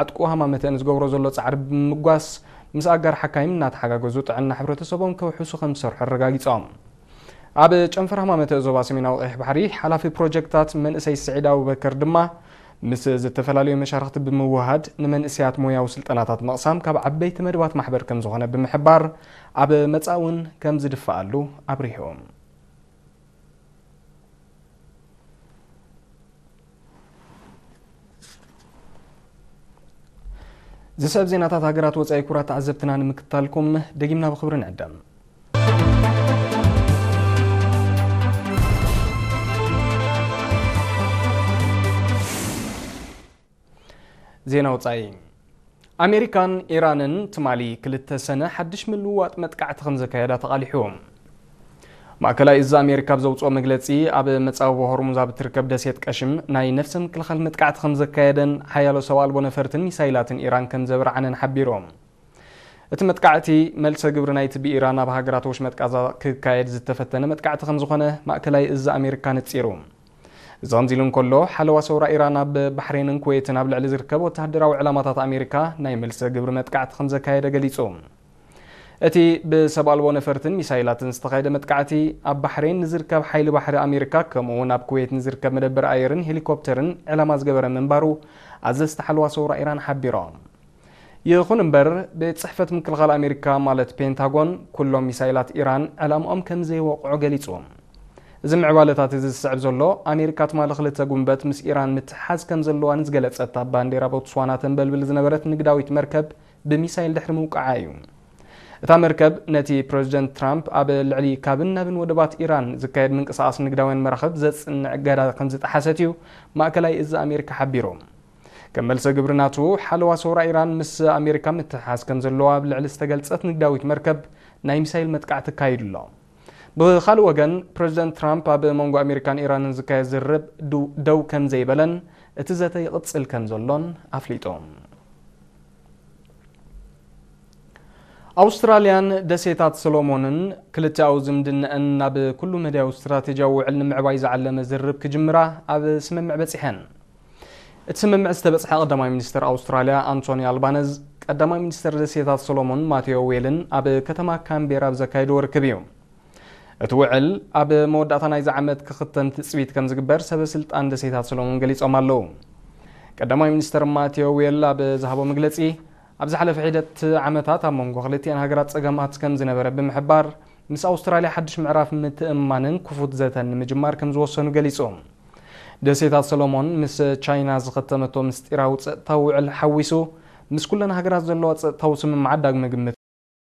ዓጥቁ ሃማመተ ንዝገብሮ ዘሎ ጻዕሪ ብምምጓስ፣ ምስ ኣጋር ሓካይም እናተሓጋገዙ ጥዕና ሕብረተሰቦም ከውሕሱ ከም ዝሰርሑ ኣረጋጊጾም። ኣብ ጨንፈር ሃማመተ ዞባ ሰሜናዊ ቀይሕ ባሕሪ ሓላፊ ፕሮጀክታት መንእሰይ ስዒድ ኣቡበከር ድማ፣ ምስ ዝተፈላለዩ መሻርኽቲ ብምውሃድ ንመንእሰያት ሞያዊ ስልጠናታት ምቕሳም ካብ ዓበይቲ መደባት ማሕበር ከም ዝኾነ ብምሕባር፣ ኣብ መጻኢ እውን ከም ዝድፍኣሉ ኣብሪሆም። ዝስዕብ ዜናታት ሃገራት ወጻኢ ክቡራት ተዓዘብትና ንምክታልኩም ደጊምና ብኽብሪ ንዕደም። ዜና ወጻኢ። ኣሜሪካን ኢራንን ትማሊ ክልተ ሰነ ሓድሽ ምልውዋጥ መጥቃዕቲ ከም ዘካየዳ ተቓሊሑ። ማእከላይ እዚ ኣሜሪካ ኣብ ዘውፅኦ መግለፂ፣ ኣብ መፃወቦ ሆርሙዝ ኣብ እትርከብ ደሴት ቀሽም ናይ ነፍሰ ምክልኻል መጥቃዕቲ ከም ዘካየደን ሓያሎ ሰብ ኣልቦ ነፈርትን ሚሳይላትን ኢራን ከም ዘብርዓነን ሓቢሩ። እቲ መጥቃዕቲ መልሰ ግብሪ ናይቲ ብኢራን ኣብ ሃገራት ወሽመጥ ቃዛ ክካየድ ዝተፈተነ መጥቃዕቲ ከም ዝኾነ ማእከላይ እዚ ኣሜሪካ ነፂሩ። እዚ ከምዚ ኢሉ እንከሎ፣ ሓለዋ ሰውራ ኢራን ኣብ ባሕሬንን ኩዌትን ኣብ ልዕሊ ዝርከብ ወተሃደራዊ ዕላማታት ኣሜሪካ ናይ መልሰ ግብሪ መጥቃዕቲ ከም ዘካየደ ገሊጹ። እቲ ብሰብ ኣልቦ ነፈርትን ሚሳይላትን ዝተኻየደ መጥቃዕቲ፣ ኣብ ባሕሬን ንዝርከብ ሓይሊ ባሕሪ ኣሜሪካ፣ ከምኡ እውን ኣብ ኩዌት ንዝርከብ መደበር ኣየርን ሄሊኮፕተርን ዕላማ ዝገበረ ምንባሩ ኣዘዝቲ ሓለዋ ሰውራ ኢራን ሓቢሮም። ይኹን እምበር፣ ቤት ጽሕፈት ምክልኻል ኣሜሪካ ማለት ፔንታጎን፣ ኩሎም ሚሳይላት ኢራን ዕላምኦም ከም ዘይወቕዑ ገሊጹ። እዚ ምዕባለታት እዚ ዝስዕብ ዘሎ፣ ኣሜሪካ ትማሊ ክልተ ጉንበት ምስ ኢራን ምትሕሓዝ ከም ዘለዋ ንዝገለጸት ኣብ ባንዴራ ቦትስዋና ተንበልብል ዝነበረት ንግዳዊት መርከብ ብሚሳይል ድሕሪ ምውቃዓ እዩ። እታ መርከብ ነቲ ፕረዚደንት ትራምፕ ኣብ ልዕሊ ካብን ናብን ወደባት ኢራን ዝካየድ ምንቅስቓስ ንግዳውያን መራኽብ ዘጽንዕ እገዳ ከም ዝጠሓሰት እዩ ማእከላይ እዚ ኣሜሪካ ሓቢሩ። ከም መልሰ ግብሪ ናቱ፣ ሓለዋ ሰውራ ኢራን ምስ ኣሜሪካ ምትሕሓዝ ከም ዘለዎ ኣብ ልዕሊ ዝተገልጸት ንግዳዊት መርከብ ናይ ሚሳይል መጥቃዕቲ ኣካይዱ ኣሎ። ብኻልእ ወገን፣ ፕረዚደንት ትራምፕ ኣብ መንጎ ኣሜሪካን ኢራንን ዝካየድ ዝርርብ ዱ-፣ ደው ከም ዘይበለን እቲ ዘተ ይቕጽል ከም ዘሎን ኣፍሊጡ። ኣውስትራልያን ደሴታት ሰሎሞንን ክልቲኣዊ ዝምድነአን ናብ ኩሉ መዳያዊ ስትራቴጂያዊ ውዕል ንምዕባይ ዝዓለመ ዝርርብ ክጅምራ ኣብ ስምምዕ በጺሐን። እቲ ስምምዕ ዝተበጽሐ ቀዳማይ ሚኒስተር ኣውስትራልያ ኣንቶኒ ኣልባነዝ፣ ቀዳማይ ሚኒስተር ደሴታት ሰሎሞን ማቴዎ ዌልን ኣብ ከተማ ካምቤራ ኣብ ዘካየድዎ ርክብ እዩ። እቲ ውዕል ኣብ መወዳእታ ናይዚ ዓመት ክኽተም ትጽቢት ከም ዝግበር ሰበ ስልጣን ደሴታት ሰሎሞን ገሊጾም ኣለዉ። ቀዳማይ ሚኒስተር ማቴዎ ዌል ኣብ ዝሃቦ መግለጺ፣ ኣብ ዝሓለፈ ሒደት ዓመታት ኣብ መንጎ ክልቲኣን ሃገራት ጸገማት ከም ዝነበረ ብምሕባር፣ ምስ ኣውስትራልያ ሓድሽ ምዕራፍ ምትእምማንን ክፉት ዘተን ንምጅማር ከም ዝወሰኑ ገሊጹ። ደሴታት ሰሎሞን ምስ ቻይና ዝኸተመቶ ምስጢራዊ ጸጥታዊ ውዕል ሓዊሱ፣ ምስ ኩለን ሃገራት ዘለዋ ጸጥታዊ ስምምዓት ዳግመ ግምት